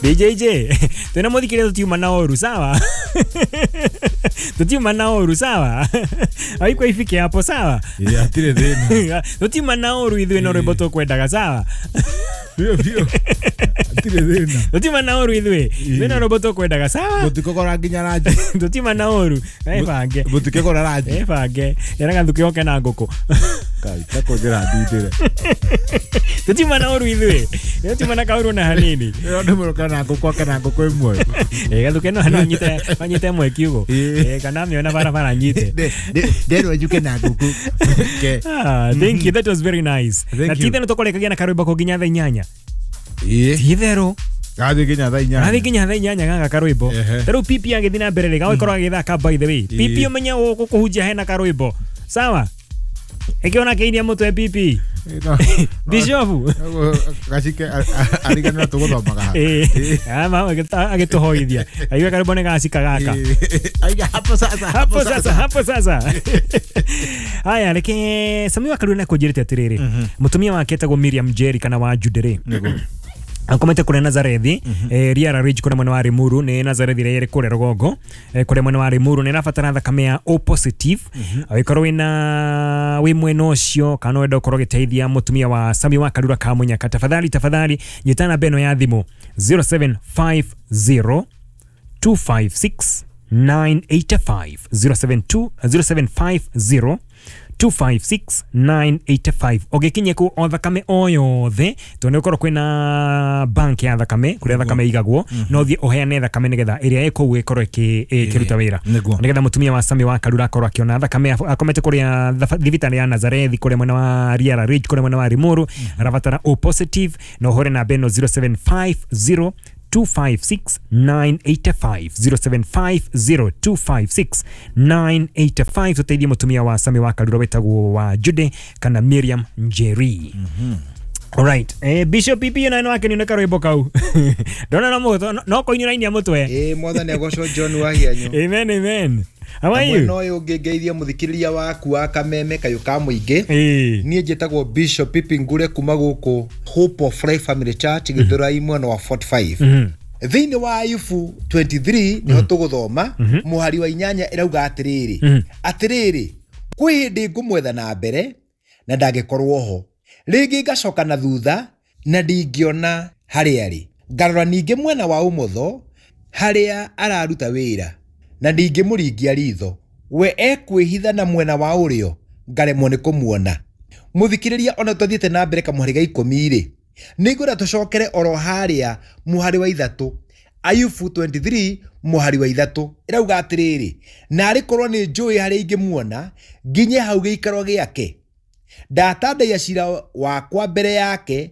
DJJ twina muthikĩrĩria, tutiuma na ũru, sawa? Tutiuma na ũru, sawa? Haikuwa ifike hapo, sawa? Ĩ, hatirĩ thĩna. Tutiuma na ũru ithuĩ, no rwĩmbo tũkwendaga, sawa? Biũ biũ, hatirĩ thĩna. Tutiuma na ũru ithuĩ, twĩna rwĩmbo tũkwendaga, sawa? Mũtikũgũra nginya ranji. Tutiuma na ũru, ebange. Mũtikĩgũra ranji. Ebange era gathuke oke na ngũkũ. Kai takũnjĩra ndindĩre. Tutiuma na ũru ithuĩ, tutiuma na kaũru na hanini. Ĩyo nĩ mũrũka na ngũkũ ake na ngũkũ ĩmwe. Ĩ, gathuke no anyite ĩmwe kiugo. Ĩ. Ĩ, kana amĩona barabara nyite. Nderwo njuke na ngũkũ ke. Ah, thank you. That was very nice. Thank Na you. titherũ tũkũrĩkagia na karwĩmbo kũ nginya thaa 8. Ĩ. Titherũ. Gathiĩ nginya thaa 8. Gathiĩ nginya thaa 8 gaka karwĩmbo. Ta rĩu pipi agĩthiĩ na mbere rĩ, gagũkorwo agĩthaka. By the way, pipi, ũmenye gũkũ kũhunjia hena karwĩmbo, sawa? Ĩkĩona kĩinia mũtwe pipi. Bishop. Gacike ariganĩra tũgũthomaga ha. Ĩ, agĩtũhoithia aigue karwĩmbo nĩ gacika gaka. Aiga hapo sasa. Hapo sasa, hapo sasa. Haya, reke Sami wa Karua nakũnjĩrĩte atĩrĩrĩ, mũtumia wake etagwo Miriam Jerry kana wa Jude rĩ, akomete kũrĩa Nazarethi, Riara Ridge kũrĩa mwena wa Limuru. Nĩ Nazarethi ĩrĩa ĩrĩ kũrĩa rũgongo, kũrĩa mwena wa Limuru. Nĩ ĩrabatara thakame ya O positive. Angĩkorwo wĩna wĩ mwena ũcio kana wenda ũkorwo ũgĩteithia mũtumia wa Sami wa Karura Kamunyaka, tafadhali, tafadhali nyita namba ĩno ya thimũ, 0750 256 985, 072 0750 256 985. Ũgĩkinyia kũu o thakame o yothe, tondũ nĩ gũkorwo kwĩna bank ya thakame kũrĩa thakame igagwo, no ũthiĩ ũheane thakame nĩgetha ĩrĩa ĩ kũu ĩkorwo ĩkĩruta wĩra, nĩgetha mũtumia wa Sami wa Karura akorwo akĩona thakame. Akomete kũrĩa thibitarĩ ya Nazarethi kũrĩa mwena wa Riara Ridge, kũrĩa mwena wa Limuru. Arabatara O positive na ũhũre namba ĩno, 0750 256 985, 0750 256 985. Tuteithie mũtumia wa Sami wa Karura wĩtagwo wa Jude kana Miriam Njeri. Alright. Bishop PP na wake ni karwĩmbo kau. Ndona no mũtwe no kũinĩra inia mũtwe. Ĩ, mwathani agocwo, John Wahianyu. Amen, amen. How are you? Mwena ũyũ ũngĩ ngeithia mũthikĩrĩria waku wa Kameme kayũ ka mũingĩ. Niĩ njĩtagwo Bishop Pipi Ngure kuma gũkũ Hope of Life Family Church, Gĩthũrai, mwena wa 45. Thĩinĩ wa Ayubu 23 nĩho tũgũthoma mũhari wa 8, ĩrauga atĩrĩrĩ, atĩrĩrĩ, kwĩ hĩndĩ ngũmwetha na mbere na ndangĩkorwo ho, rĩngĩ ngacoka na thutha na ndingĩona harĩa arĩ, ngarora ningĩ mwena wa ũmotho harĩa araruta wĩra na ndingĩmũringia ritho, we ekwĩhitha na mwena wa ũrĩo ngaremwo nĩ kũmuona. Mũthikĩrĩria, ona tũthiĩte na mbere kamũhari ga 10 rĩ, nĩngwenda tũcokere oro harĩa mũhari wa 3. Ayubu 23 mũhari wa 3 ĩrauga atĩrĩrĩ, narĩ korwo nĩ njũĩ harĩa ingĩmuona, nginye hau gĩikaro gĩake, ndatandaiya cira wakwa mbere yake.